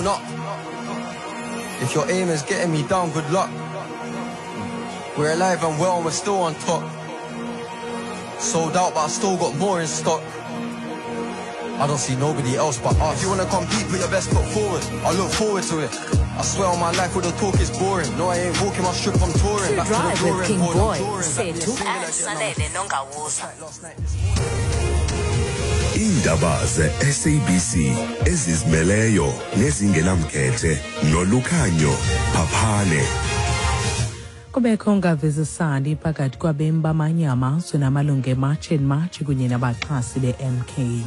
blown up. If your aim is getting me down, good luck. We're alive and well and we're still on top. Sold out, but I still got more in stock. I don't see nobody else but us. If you wanna compete, put your best foot forward. I look forward to it. I swear on my life, all the talk is boring. No, I ain't walking my strip, I'm touring. To Back to the drive with drawing King board, I'm Boy drawing. Back sethu to the single again, I'm salele nongawuza Last night, this morning. Iindaba ze-SABC ezizimeleyo nezingenamkhethe nolukhanyo phaphane. Kubekho ungavisisani phakathi kwabemi bamanye amazwe namalungu eMarch and March kunye nabaxhasi be-MK.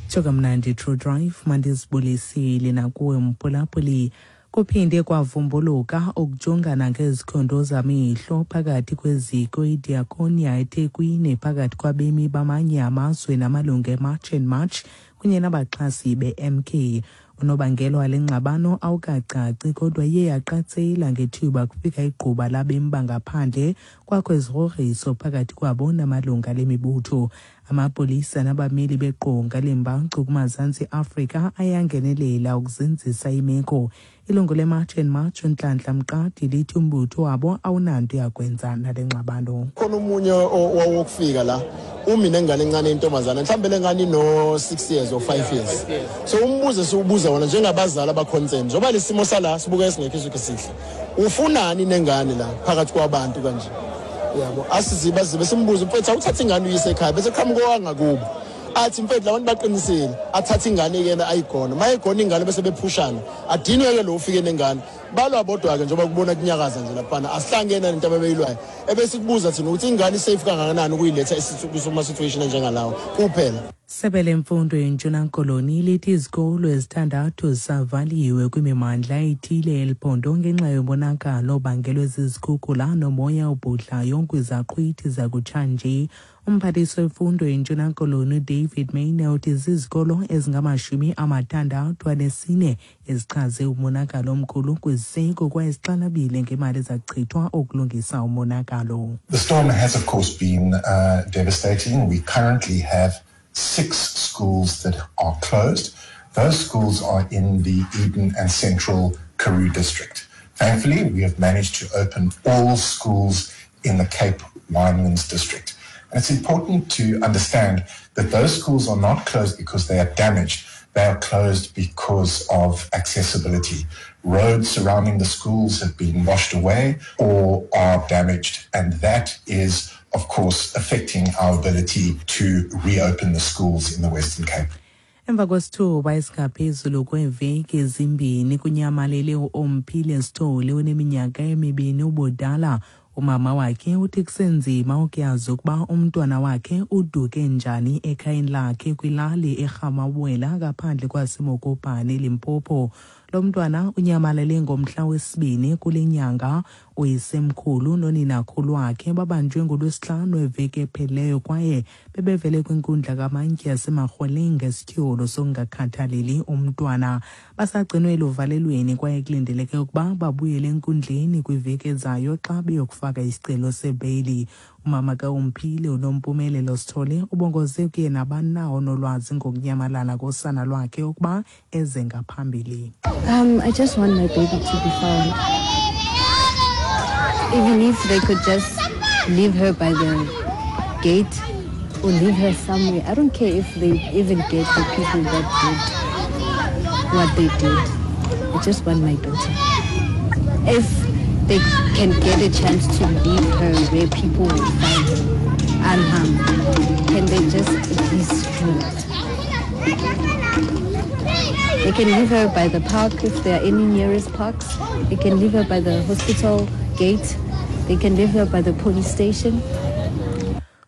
Tsho kamnandi True Drive, mandizibulisile nakuwe mphulaphuli. Kuphinde kwavumbuluka ukujongana ngezikhondo zamehlo phakathi kweziko iDiakonia eThekwini phakathi kwabemi bamanye amazwe namalungu eMarch and March kunye nabaxhasi be-MK. Unobangela wale ngxabano awukacaci kodwa iye yaqatsela ngethuba kufika igquba labemi bangaphandle kwakho izigrogriso phakathi kwabo namalungu ale mibutho. Amapolisa nabameli beqonga lembacu kumazantsi Afrika ayangenelela ukuzinzisa imeko. Ilungu leMarch and March uNhlanhla Mqadi lithi umbutho wabo awunanto yakwenza nale ngxabano. Khona omunye owokufika la umi nengane encane intombazana mhlawumbe le ngane ino-6 years or 5 years, so umbuzo esiwubuza wona njengabazali abaconcern njengoba le simo sala sibuka esingekho isukhe sihle, ufunani nengane la phakathi kwabantu kanje yabo? Asiziba zibe simbuze, mfethu, awuthathe ingane uyise ekhaya, bese qhamuka owangakubo athi, mfethu, labantu baqinisile, athathe ingane yena ayigona, uma egona ingane bese bephushana, adinwe-ke lo ufike nengane, balwa bodwa-ke njengoba kubona kunyakaza nje laphana, asihlangene nento abebeyilwayo. Ebesikubuza thina ukuthi ingane isafe kangakanani ukuyiletha kuma-situation enjengalawo kuphela. Sebe lemfundo yeNtshona Koloni lithi izikolo ezithandathu zisavaliwe kwimimandla ethile eliphondo ngenxa yomonakalo obangelwe zizikhukhula nomoya obhudlayo kwizaqhwithi zakutshanje. Umphathiswa wemfundo yeNtshona Koloni uDavid Mayne uthi zizikolo ezingama-64 ezichaze umonakalo omkhulu kwiziseko kwaye zixhalabile ngemali ezachithwa ukulungisa umonakalo. The storm has, of course, been devastating. We currently have six schools that are closed. Those schools are in the Eden and Central Karoo district. Thankfully, we have managed to open all schools in the Cape Winelands district. And it's important to understand that those schools are not closed because they are damaged. They are closed because of accessibility. Roads surrounding the schools have been washed away or are damaged. And that is, of course, affecting our ability to reopen the schools in the Western Cape. Emva kwesithuba esingaphezulu kweeveki ezimbini kunyamalele uOmphile Sithole oneminyaka emibini ubudala. Umama wakhe uthi kusenzima ukuyazi ukuba umntwana wakhe uduke njani ekhayeni lakhe kwilali eRhamawela ngaphandle kwaseMokopane, Limpopo. Lo mntwana unyamalele ngomhla wesibini kule nyanga. Uyisemkhulu noninakhulu wakhe babanjwe ngolwesihlanu eveki ephelileyo kwaye bebevele kwinkundla kamantyi yaseMarhweleng ngesityholo sokungakhathaleli umntwana. Basagcinwe eluvalelweni kwaye kulindeleke ukuba babuyele enkundleni kwiveki ezayo xa beyokufaka isicelo sebheyili. Umama kaUmphile uNompumelelo Sithole ubongoze kuye nabani na onolwazi ngokunyamalala kosana lwakhe ukuba eze ngaphambili. I just want my baby to be found. Even if they could just leave her by the gate or leave her somewhere. I don't care if they even get the people that did what they did. I just want my daughter. If they can get a chance to leave her where people will find her unharmed, can they just at least do that? They can leave her by the park if there are any nearest parks. They can leave her by the hospital gate. They can leave her by the police station.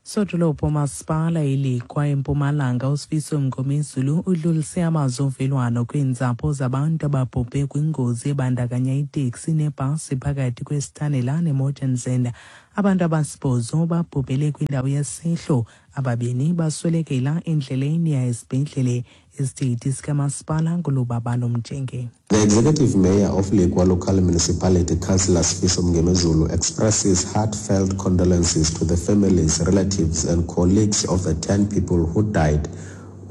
Sodolophu umasipala iLikwa eMpumalanga uSifiso Mngomezulu udlulise amazwi ovelwano kwiintsapho zabantu ababhubhe kwingozi ebandakanya iteksi nebhasi phakathi kweSithanela neMortensen. Abantu abasibhozo babhubhele kwindawo yesehlo, ababini baswelekela endleleni ya esibhedlele. Isithethi sikamasipala nguLubabalo Mjenge. The Executive Mayor of Lekwa Local Municipality, Councillor Sifiso Mngomezulu, expresses heartfelt condolences to the families, relatives and colleagues of the 10 people who died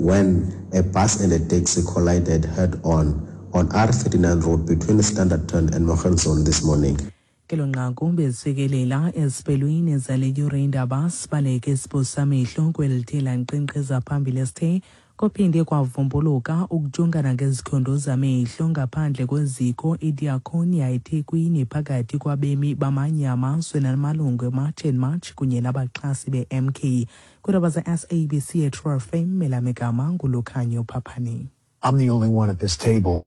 when a bus and a taxi collided head-on on R39 Road between Standerton and Mogenson this morning. Kelo nqaku bezifikelela eziphelweni zale yure indaba sibaleke sibusamehlo kweli lankqenkqeza phambili esithe kuphinde kwavumbuluka ukujongana ngezikhondo zamehlo ngaphandle kweziko iDiakonia eThekwini phakathi kwabemi bamanye amazwe namalungu eMarch and March kunye nabaxhasi be-MK. Kwiindaba ze-SABC eTrue FM, elamegama nguLukhanyo Phaphane. I'm the only one at this table.